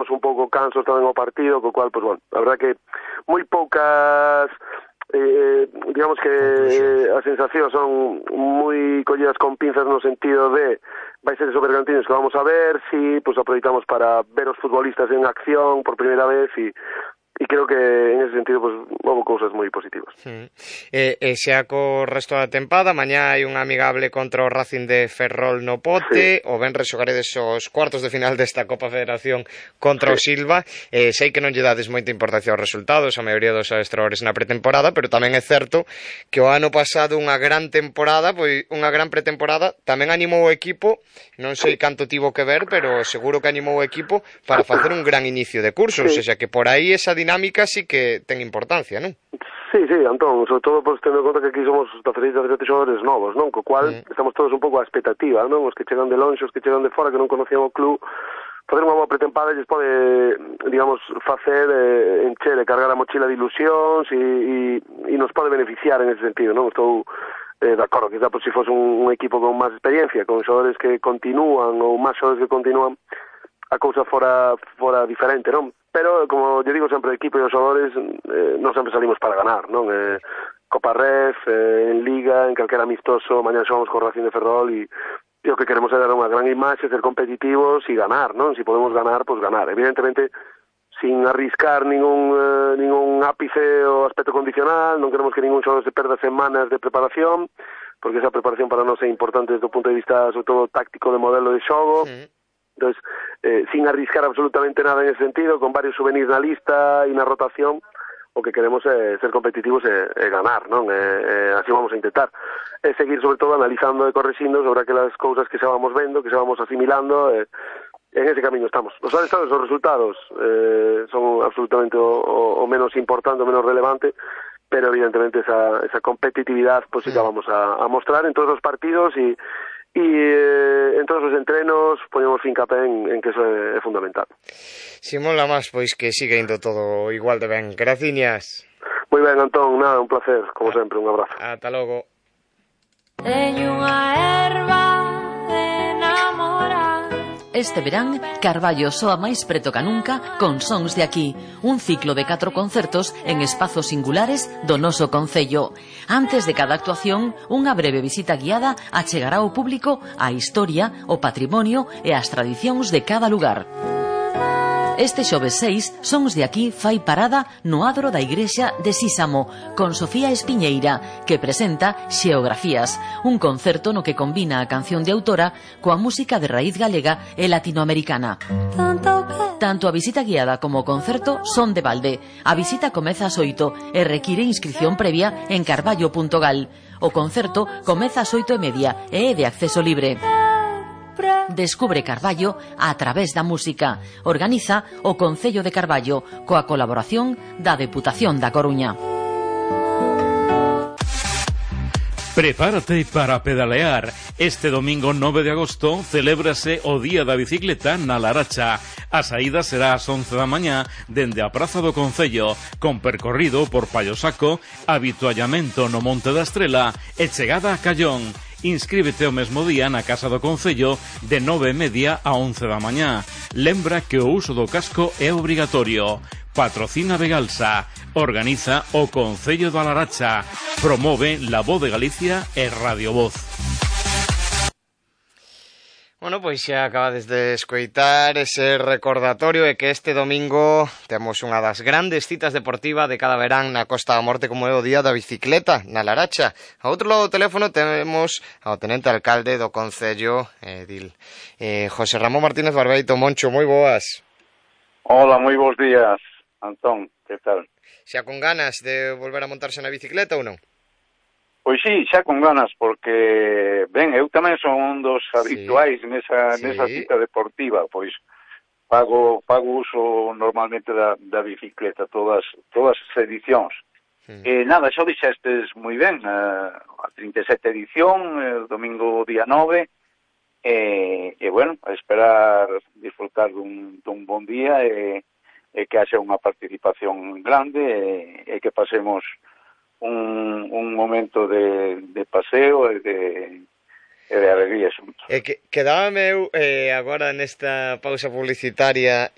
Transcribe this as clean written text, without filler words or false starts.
chegamos un pouco cansos tamén ao partido, co cual, pues bueno, a verdad que moi poucas digamos que as sensacións son moi collidas con pinzas no sentido de vai ser esos Bergantiños que vamos a ver si pues aproveitamos para ver os futbolistas en acción por primeira vez e creo que en ese sentido pues houve cousas moi positivas. Xa co resto da tempada, mañá hai un amigable contra o Racing de Ferrol no Pote, o venres xogaredes os cuartos de final desta Copa Federación contra o Silva. Sei que non lle dades moita importancia aos resultados, a maioría dos adestradores na pretemporada, pero tamén é certo que o ano pasado unha gran temporada, pois unha gran pretemporada, tamén animou o equipo, non sei canto tivo que ver, pero seguro que animou o equipo para facer un gran inicio de curso, ou seja, que por aí esa dinámica sí que ten importancia, non? Sí, Antón, sobre todo pues, tendo en conta que aquí somos da Federación de xogadores novos, non? Co cual estamos todos un pouco á expectativa, non? Os que chegan de lonxe, os que chegan de fora, que non conocían o club, facer unha boa pretempada lles pode, digamos, facer encher e cargar a mochila de ilusións e nos pode beneficiar en ese sentido, non? Estou de acordo, quizá pues, se fose un equipo con máis experiencia, con xogadores que continúan ou máis xogadores que continúan, a cousa fora diferente, non? Pero, como eu digo sempre, o equipo e os xogadores non sempre salimos para ganar, non? Copa Ref, en Liga, en calquera amistoso, mañana xogamos con Racing de Ferrol e o que queremos é dar unha gran imaxe, ser competitivos e ganar, non? Si podemos ganar, pues ganar. Evidentemente, sin arriscar ningún ápice ou aspecto condicional, non queremos que ningún xogador se perda semanas de preparación, porque esa preparación para nós é importante desde o punto de vista, sobre todo, táctico de modelo de xogo. Entonces, sin arriscar absolutamente nada en ese sentido, con varios souvenirs na lista e na rotación, o que queremos é ser competitivos e ganar, non? Así vamos a intentar. E seguir, sobre todo, analizando e correxindo sobre aquelas cousas que xa vamos vendo, que xa vamos asimilando, en ese camiño estamos. Os resultados son absolutamente o menos importante, o menos relevante, pero evidentemente esa competitividad pues sí que vamos a mostrar en todos os partidos e en todos os entrenos ponemos fincapé en que eso é fundamental. Si mola máis, pois que siga indo todo igual de ben. Graciñas. Moi ben, Antón, nada, un placer, como sempre, un abrazo. Ata logo. Teño unha erva de enamorar. Este verán, Carballo soa máis preto ca nunca con Sons de Aquí, un ciclo de 4 concertos en espazos singulares do noso concello. Antes de cada actuación, unha breve visita guiada achegará ao público a historia, o patrimonio e as tradicións de cada lugar. Este xoves 6, Sons de Aquí fai parada no adro da igrexa de Sísamo, con Sofía Espiñeira, que presenta Xeografías, un concerto no que combina a canción de autora coa música de raíz galega e latinoamericana. Tanto a visita guiada como o concerto son de balde. A visita comeza ás 8 e require inscripción previa en carballo.gal. O concerto comeza ás 8:30 e é de acceso libre. Descubre Carballo a través da música. Organiza o Concello de Carballo coa colaboración da Deputación da Coruña. Prepárate para pedalear. Este domingo 9 de agosto celébrase o Día da Bicicleta na Laracha. A saída será ás 11 da mañá dende a Praza do Concello, con percorrido por Pallosaco, habituallamento no Monte da Estrela e chegada a Callón. Inscríbete o mesmo día na Casa do Concello de 9:30 a 11 da mañá. Lembra que o uso do casco é obrigatorio. Patrocina Begalsa. Organiza o Concello da Laracha. Promove La Voz de Galicia e Radio Voz. Bueno, pois xa acabades de escoitar ese recordatorio de que este domingo temos unha das grandes citas deportivas de cada verán na Costa da Morte, como é o Día da Bicicleta na Laracha. A outro lado do teléfono temos ao tenente alcalde do Concello, José Ramón Martínez Barbeito. Moncho, moi boas. Hola, moi bons días, Antón, que tal? Xa con ganas de volver a montarse na bicicleta ou non? Pois sí, xa con ganas, porque, ben, eu tamén son un dos habituais nesa cita deportiva, pois pago uso normalmente da bicicleta, todas as edicións. Nada, xa dixestes moi ben, a 37 edición, el domingo día 9, e bueno, a esperar disfrutar dun bon día e que haxa unha participación grande e que pasemos un momento de paseo e de alegría xuntos. Quedábame eu agora nesta pausa publicitaria